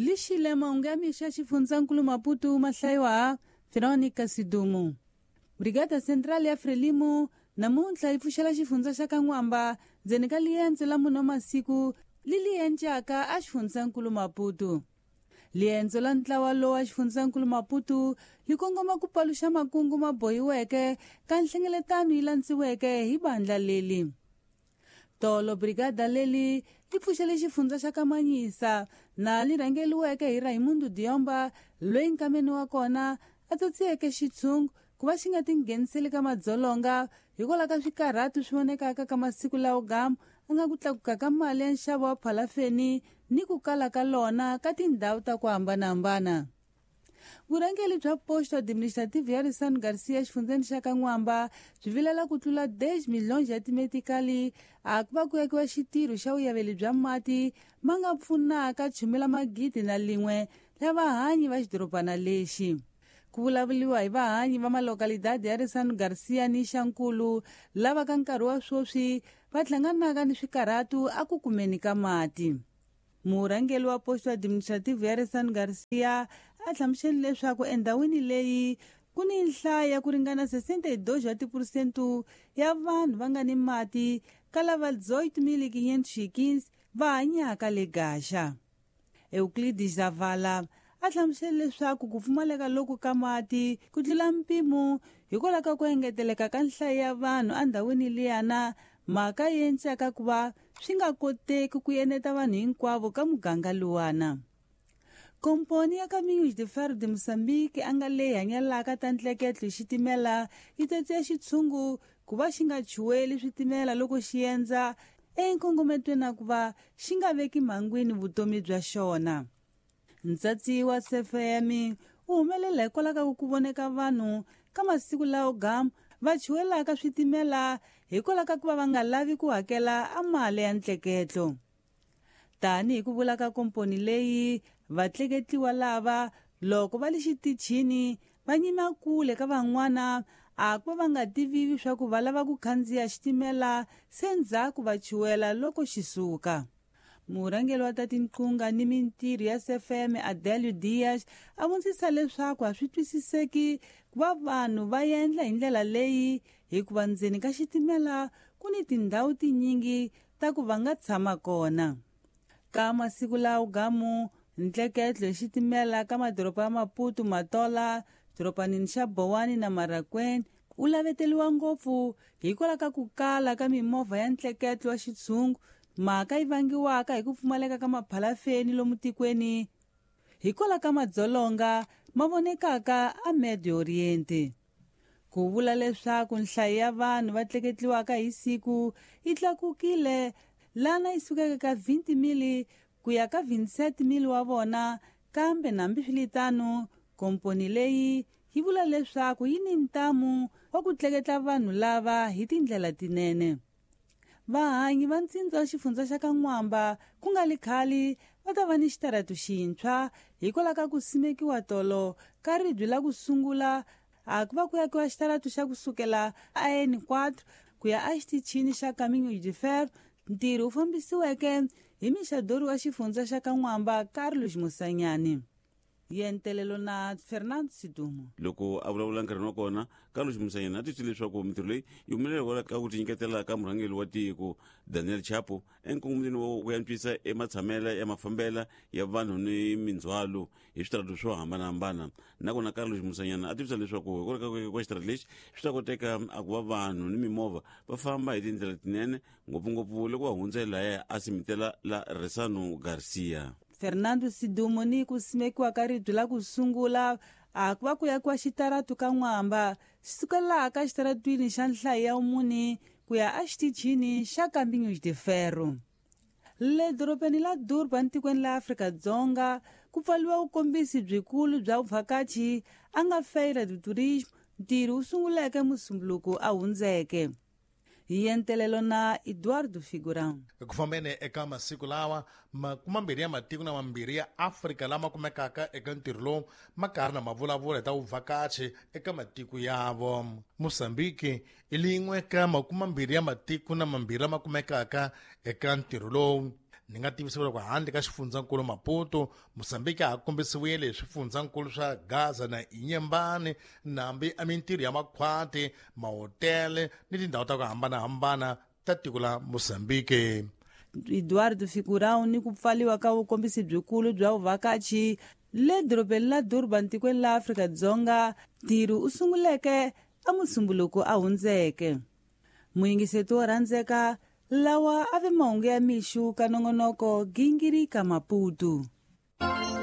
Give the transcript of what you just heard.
Lixile mahungu ya mixo ya xifundzankulu Maputo ma hlayiwa Veronica Sidumo. Brigada Central ya Frelimo namuntlha yi pfuxela xifundza xa ka N'wamba ndzeni ka liendzo la mune wa masiku li li encaka a xifundzankulu Maputo. Liendzo la ntlawa lowu wa xifundzankulu Maputo li kongoma ku paluxa makungu ma bohiweke ka nhlengeletano yi landziweke hi bandla leli. Tolo brigada leli li pfuxele xifundza xa Kamanyisa na li rhangeliweke hi Raimundo Diomba loyi nkameni wa kona a tsotsiyeke xitshungu ku va xi nga tingheniseli ka madzolonga hikwalaho ka swikarhatu swi vonekaka ka masiku lawo gamu a nga ku tlakuka ka mali ya nxavo wa phalafeni ni ku kala ka lona ka tindhawu ta ku hambanahambana. Vurhangeri bya Posto Administrativo ya Risano Garcia exifundzeni xa ka N'wamba byi vilela ku tlula 10 milhonji ya timetikali a ku va ku akiwa xitirho xa vuyaveli bya mati ma nga pfunaka chumela magidi na lin'we la vahanyi va xidorobana lexi. Ku vulavuriwa hi vahanyi va malokalidadi ya Risano Garcia ni Xankulu lava ka nkarhi wa sweswi va hlanganaka ni swikarhatu a ku kumeni ka mati. Murhangeri wa Posto Administrativo ya Risano Garcia a hlamusele leswaku endhawini leyi ku ni nhlayo ya ku ringana 62 wa tiphurosente ya vanhu va nga ni mati ka lava 8.515 va hanyaka le Gaxa. Euclides Zavala a hlamusele leswaku ku pfumaleka loku ka mati ku tlula mpimo hikwalaho ka ku engeteleka ka nhlayo ya vanhu endhawini liyana, mhaka yi encaka ku va swi nga koteki ku eneta vanhu hinkwavo ka muganga luwana. Komponi ya Caminhos de Ferro de Moçambique a nga leyi hanyalaka ta ntleketlo hi xitimela yi tsatsiya xitshungu ku va xi nga chuweli switimela loko xi endza enkongometweni na ku va xi nga veki mhangwini vutomi bya xona. Ntsatsi wa CFM u humelela hikwalaho ka ku voneka vanhu ka masiku lawo gamu va chuwelaka switimela hikwalaho ka ku va va nga lavi ku hakela a mali ya ntleketlo. Tanihi ku vula ka komponi leyi, vatleketliwa lava loko va le xitichini va nyima kule ka van'wana a ku va va nga tiviwi swa ku va lava ku khandziya xitimela se ndzhaku va chuwela loko xi suka. Murhangeri wa ta tinqunga ni mintirho ya CFM Adelio Dias a vondzisa leswaku a swi twisiseki ku va vanhu va endla hi ndlela leyi hikuva ndzeni ka xitimela ku ni tindhawu tinyingi ta ku va nga tshama kona. Ka masiku lawo gamu ntleketlo hi xitimela ka madoroba ya Maputo, Matola, dorobanini xa Bowani na Marracuene u laveteliwa ngopfu hikwalaho ka ku kala ka mimovha ya ntleketlo wa xitshungu, mhaka yi vangiwaka hi ku pfumaleka ka maphalafeni lomu tikweni hikwalaho ka madzolonga ma vonekaka a Medio Oriente. Ku vula leswaku nhlayo ya vanhu va tleketliwaka hi siku yi tlakukile lana yi sukeke ka 20,000 ku ya ka 27,000 wa vona, kambe nambiswiritano komponi leyi yi vula leswaku yi ni ntamu wa ku tleketla vanhu lava hi tindlela tinene. Vahanyi va ntsindza wa xifundza xa ka N'wamba ku nga li khale va ta va ni xitaratu xintshwa hikwalaho ka ku simekiwa tolo ka ribye la ku sungula a ku va ku akiwa xitaratu xa ku sukela a N4 ku ya exitichini xa Caminho de Ferro, ntirho wu fambisiweke hi mixadori wa xifundza xa ka N'wamba Carlos Musanyani. Yentelelo na Fernando Sidumo. Loko a vulavula nkarhini wa kona, Carlos Musanyani a twisile leswaku mintirho leyi yi humelela hikwalaho ka ku tinyiketela ka murhangeri wa tiko Daniel Chapo enkongomeni wa ku antswisa ematshamela ya mafambela ya vanhu ni mindzhwalo hi switaratu swo hambanahambana. Nakona Carlos Musanyana a tivisa leswaku hikwalaho ka ku akiwa xitaratu lexi swi ta koteka a ku va vanhu ni mimovha va famba hi tindlela tinene, ngopfungopfu loko va hundza lahaya a simitela la Resano Garcia. Fernando Sidumo ni ku simekiwa ka ribye la ku sungula a ku va ku akiwa xitaratu ka N'wamba xi sukelaka xitaratwini xa nhlayo ya mune ku ya exitichini xa Caminhos de Ferro. Le dorobeni la Durban tikweni la Afrika-Dzonga ku pfaliwa vukombisi byikulu bya vuvhakachi a nga Feira do Turismo, ntirho wu sunguleke Musumbuluko a hundzeke. Hi yentelelo na Eduardo Figurão. Ku fambeni eka masiku lawa makumambirhi ya matiko na mambirhi ya Afrika lama kumekaka eka ntirho lowu ma karhi na mavulavula hi ta vuvhakachi eka matiko yavo. Mozambique i lin'we ka makumambirhi ya matiko na mambirhi lama kumekaka eka ntirho lowu. Ni nga tivisiwa loko handle ka xifundzankulu Maputo, Mosambiki a ha kombisiwile hi swifundzankulu swa Gaza na Inyembani, nambi a mintirho ya makhwati, mahotele ni tindhawu ta ku hambanahambana ta tiko la Mosambiki. Eduardo Figurão ni ku pfaliwa ka vukombisi byikulu bya vuvhakachi le dorobeni la Durban tikweni la Afrika-Dzonga. Ntirho u sunguleke a Musumbuluko a hundzeke. Muyingiseti wo rhandzeka, lawa a ve mahungu ya mixu ka nongonoko Gingirika Maputo.